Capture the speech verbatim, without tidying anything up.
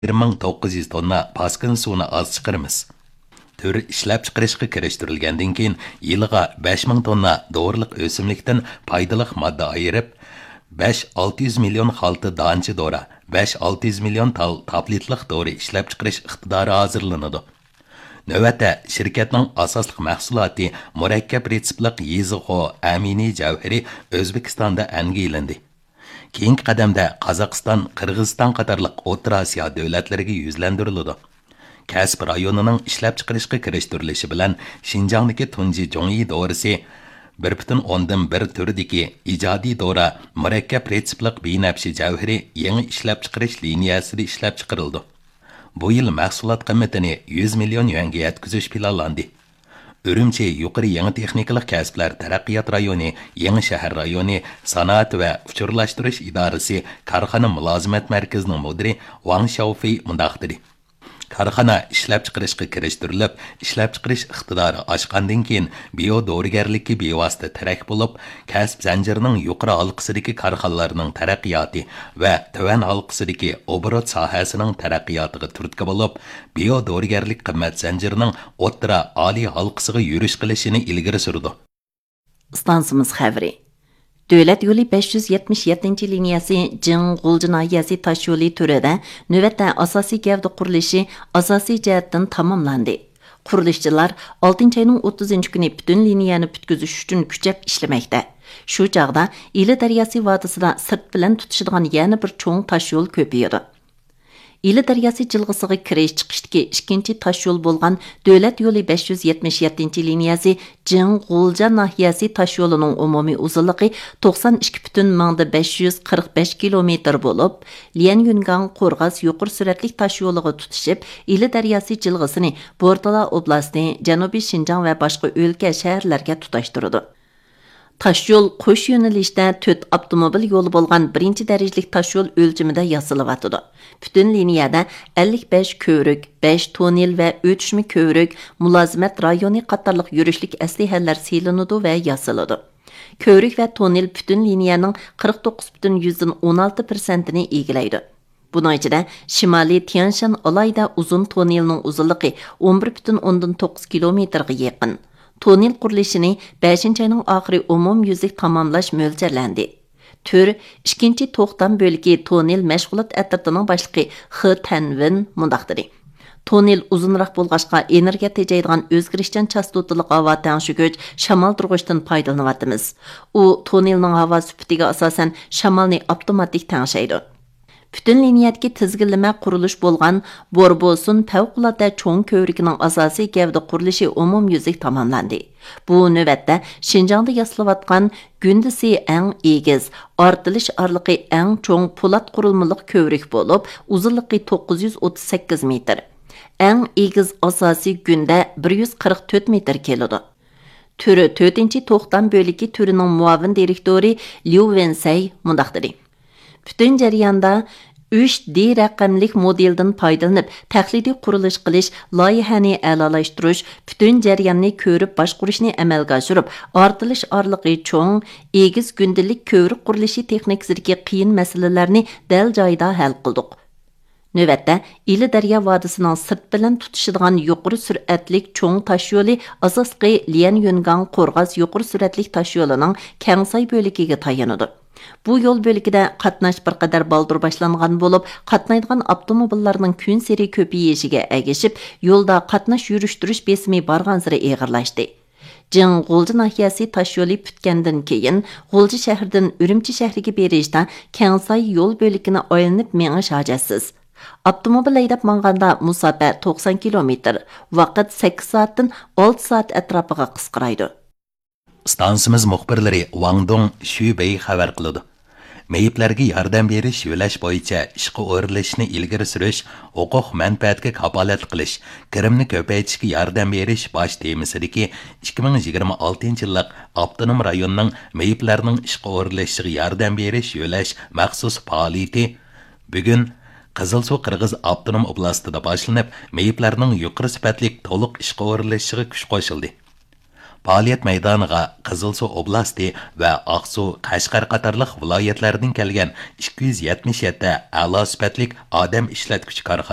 بىر مىڭ توققۇز يۈز توننا پاسكىنا سۇنى ئاز چىقىرىمىز. تۈر ئىشلەپچىقىرىشقا كىرىشتۈرۈلگەندىن كېيىن، يىلىغا بەش مىڭ توننا دورىلىق ئۆسۈملۈكتىن پايدىلىق ماددا ئايرىپ، بەش ئالتە يۈز مىليون خالتا دانچە دورا، بەش ئالتە يۈز مىليون تال تابلېتلىق دورا ئىشلەپچىقىرىش ئىقتىدارى ھازىرلىنىدۇ. نۆۋەتتە، شىركەتنىڭ ئاساسلىق مەھسۇلاتى مۇرەككەپ رېتسېپلىق يېزىخو ئەمىنى جەۋھىرى ئۆزبېكىستاندا ئەنگىلىندى. كېيىنكى قەدەمدە قازاقىستان، قىرغىزىستان قاتارلىق ئوتتۇرا ئاسىيا دۆلەتلىرىگە يۈزلەندۈرۈلىدۇ. كەسىپ رايونىنىڭ ئىشلەپچىقىرىشقا كىرىشتۈرۈلۈشى بىلەن، شىنجاڭدىكى تۇنجى جۇڭيى دورىسى بىر پۈتۈن ئوندىن بىر تۈرىدىكى ئىجادىي دورا مۇرەككەپ رېتسېپلىق بىنەپشە جەۋھىرى يېڭى ئىشلەپچىقىرىش لىنىيەسىدە ئىشلەپچىقىرىلىدۇ. بۇ يىل مەھسۇلات قىممىتىنى يۈز مىليون يۈەنگە يەتكۈزۈش پىلانلاندى. ئۈرۈمچى يۇقىرى يېڭى تېخنىكىلىق كەسىپلەر تەرەققىيات رايونى، يېڭى شەھەر رايونى، سانائەت ۋە ئۇچۇرلاشتۇرۇش ئىدارىسى كارخانا مۇلازىمەت مەركىزىنىڭ مۇدىرى ۋاڭ شياۋفېي مۇنداق دېدى: كارخانا ئىشلەپچىقىرىشقا كىرىشتۈرۈلۈپ، ئىشلەپچىقىرىش ئىقتىدارى ئاشقاندىن كېيىن، بىيو دورىگەرلىككە بىۋاسىتە تىرەك بولۇپ، كەسىپ زەنجىرىنىڭ يۇقىرى ھالقىسىدىكى كارخانىلارنىڭ تەرەققىياتى ۋە تۆۋەن ھالقىسىدىكى ئوبوروت ساھەسىنىڭ تەرەققىياتىغا تۈرتكە بولۇپ، بىيو دورىگەرلىك قىممەت زەنجىرىنىڭ ئوتتۇرا، ئالىي ھالقىسىغا يۈرۈش قىلىشىنى ئىلگىرى سۈرىدۇ. ئىستانسىمىز خەۋىرى. دۆلەت يولى بەش يۈز يەتمىش يەتتىنچى لىنىيەسى جىڭ غۇلجا ناھىيەسى تاشيولى تۈرىدە نۆۋەتتە ئاساسىي گەۋدە قۇرۇلۇشى ئاساسىي جەھەتتىن تاماملاندى. قۇرۇلۇشچىلار ئالتىنچى ئاينىڭ ئوتتۇزىنچى كۈنى پۈتۈن لىنىيەنى پۈتكۈزۈش ئۈچۈن كۈچەپ ئىشلىمەكتە. شۇ چاغدا ئىلى دەرياسى ۋادىسىدا سىرت بىلەن تۇتىشىدىغان يەنە بىر چوڭ تاشيول كۆپىيىدۇ. ئىلى دەرياسى جىلغىسىغا كىرىش چىقىشتىكى ئىككىنچى تاشيول بولغان دۆلەت يولى بەش يۈز يەتمىش يەتتىنچى لىنىيەسى جىڭ غۇلجا ناھىيەسى تاشيولىنىڭ ئومۇمىي ئۇزۇنلۇقى توقسان ئىككى پۈتۈن مىڭدا بەش يۈز قىرىق بەش كىلومېتىر بولۇپ، ليەنيۈنگاڭ قورغاس يۇقىرى سۈرئەتلىك تاشيولىغا تۇتىشىپ، ئىلى دەرياسى جىلغىسىنى بورتالا ئوبلاستى، جەنۇبىي شىنجاڭ ۋە باشقا ئۆلكە، شەھەرلەرگە تۇتاشتۇرىدۇ. تاشيول قوش يۆنىلىشتە تۆت ئاپتوموبىل يولى بولغان بىرىنچى دەرىجىلىك تاشيول ئۆلچىمىدە ياسىلىۋاتىدۇ. پۈتۈن لىنىيەدە ئەللىك بەش كۆۋرۈك، بەش توننېل ۋە ئۆتۈشمە كۆۋرۈك، مۇلازىمەت رايونى قاتارلىق يۈرۈشلۈك ئەسلىھەلەر سېلىنىدۇ ۋە ياسىلىدۇ. كۆۋرۈك ۋە توننېل پۈتۈن لىنىيەنىڭ قىرىق توققۇز پۈتۈن يۈزدىن ئون ئالتە پىرسەنتىنى ئىگىلەيدۇ. بۇنىڭ ئىچىدە شىمالىي تيەنشان ئالاھىدە ئۇزۇن توننېلنىڭ ئۇزۇنلۇقى ئون بىر پۈتۈن ئوندىن توققۇز كىلومېتىرغا يېقىن. توننېل قۇرۇلۇشىنى بەشىنچى ئاينىڭ ئاخىرى ئومۇميۈزلۈك تاماملاش مۆلچەرلەندى. تۈر ئىككىنچى توختام بۆلىكى توننېل مەشغۇلات ئەترىتىنىڭ باشلىقى خې تەنۋېن مۇنداق دېدى: توننېل ئۇزۇنراق بولغاچقا، ئېنېرگىيە تېجەيدىغان ئۆزگىرىشچان چاستوتىلىق ھاۋا تەڭشىگۈچ شامالدۇرغۇچتىن پايدىلىنىۋاتىمىز. ئۇ توننېلنىڭ ھاۋا سۈپىتىگە ئاساسەن شامالنى ئاپتوماتىك تەڭشەيدۇ. پۈتۈن لىنىيەدىكى تىزگىنلىمە قۇرۇلۇش بولغان بوربوسۇن پەۋقۇلئاددە چوڭ كۆۋرۈكىنىڭ ئاساسىي گەۋدە قۇرۇلۇشى ئومۇميۈزلۈك تاماملاندى. بۇ نۆۋەتتە شىنجاڭدا ياسىلىۋاتقان گۈندىسى ئەڭ ئېگىز، ئارتىلىش ئارىلىقى ئەڭ چوڭ پولات قۇرۇلمىلىق كۆۋرۈك بولۇپ، ئۇزۇنلۇقى توققۇز يۈز ئوتتۇز سەككىز مېتىر. ئەڭ ئېگىز ئاساسىي گۈندە بىر يۈز قىرىق تۆت مېتىر كېلىدۇ. تۈر تۆتىنچى توختام بۆلىكى تۈرىنىڭ مۇئاۋىن دىرېكتورى ليۇ ۋېنسەي مۇنداق دېدى: پۈتۈن جەرياندا ئۈچ دى رەقەملىك مودېلدىن پايدىلىنىپ، تەقلىدىي قۇرۇلۇش قىلىش، لايىھەنى ئەلالاشتۇرۇش، پۈتۈن جەرياننى كۆرۈپ باشقۇرۇشنى ئەمەلگە ئاشۇرۇپ، ئارتىلىش ئارىلىقى چوڭ، ئېگىز گۈندىلىك كۆۋرۈك قۇرۇلۇشى تېخنىكىسىدىكى قىيىن مەسىلىلەرنى دەل جايىدا ھەل قىلدۇق. نۆۋەتتە، ئىلى دەريا ۋادىسىنىڭ سىرت بىلەن تۇتىشىدىغان يۇقىرى سۈرئەتلىك چوڭ تاشيولى ئاساسلىقى ليەنيۈنگاڭ قورغاس يۇقىرى سۈرئەتلىك تاشيولىنىڭ كەڭساي بۆلىكىگە تايىنىدۇ. بۇ يول بۆلىكىدە قاتناش بىر قەدەر بالدۇر باشلانغان بولۇپ، قاتنايدىغان ئاپتوموبىللارنىڭ كۈنسېرى كۆپىيىشىگە ئەگىشىپ، يولدا قاتناش يۈرۈشتۈرۈش بېسىمى بارغانسېرى ئېغىرلاشتى. جىڭ غۇلجا ناھىيەسى تاشيولى پۈتكەندىن كېيىن، غۇلجا شەھىرىدىن ئۈرۈمچى شەھىرىگە بېرىشتا كەڭساي يول بۆلىكىنى ئايلىنىپ مېڭىش ھاجەتسىز. ئاپتوموبىل ھەيدەپ ماڭغاندا مۇساپە توقسان كىلومېتىر، ۋاقىت سەككىز سائەتتىن ئالتە سائەت ئەتراپىغا قىسقىرايدۇ. ئىستانسىمىز مۇخبىرلىرى ۋاڭ دۇڭ، شۈ بېي خەۋەر قىلىدۇ. مېيىپلەرگە ياردەم بېرىش يۆلەش بويىچە ئىشقا ئورۇنلىشىشنى ئىلگىرى سۈرۈش، ھوقۇق مەنپەئەتكە كاپالەتلىك قىلىش، كىرىمنى كۆپەيتىشكە ياردەم بېرىش باش تېمىسىدىكى ئىككى مىڭ يىگىرمە ئالتىنچى يىللىق ئاپتونوم رايوننىڭ مېيىپلەرنىڭ ئىشقا ئورۇنلىشىشىغا ياردەم بېرىش يۆلەش مەخسۇس پائالىيىتى بۈگۈن قىزىلسۇ قىرغىز ئاپتونوم ئوبلاستىدا باشلىنىپ، مېيىپلەرنىڭ يۇقىرى سۈپەتلىك تولۇق ئىشقا ئورۇنلىشىشىغا كۈچ قوشۇلدى. پائالىيەت مەيدانىغا قىزىلسۇ ئوبلاستى ۋە ئاقسۇ، قەشقەر قاتارلىق ۋىلايەتلەردىن كەلگەن ئىككى يۈز يەتمىش يەتتە ئەلا سۈپەتلىك ئادەم ئىشلەتكۈچى كارخانا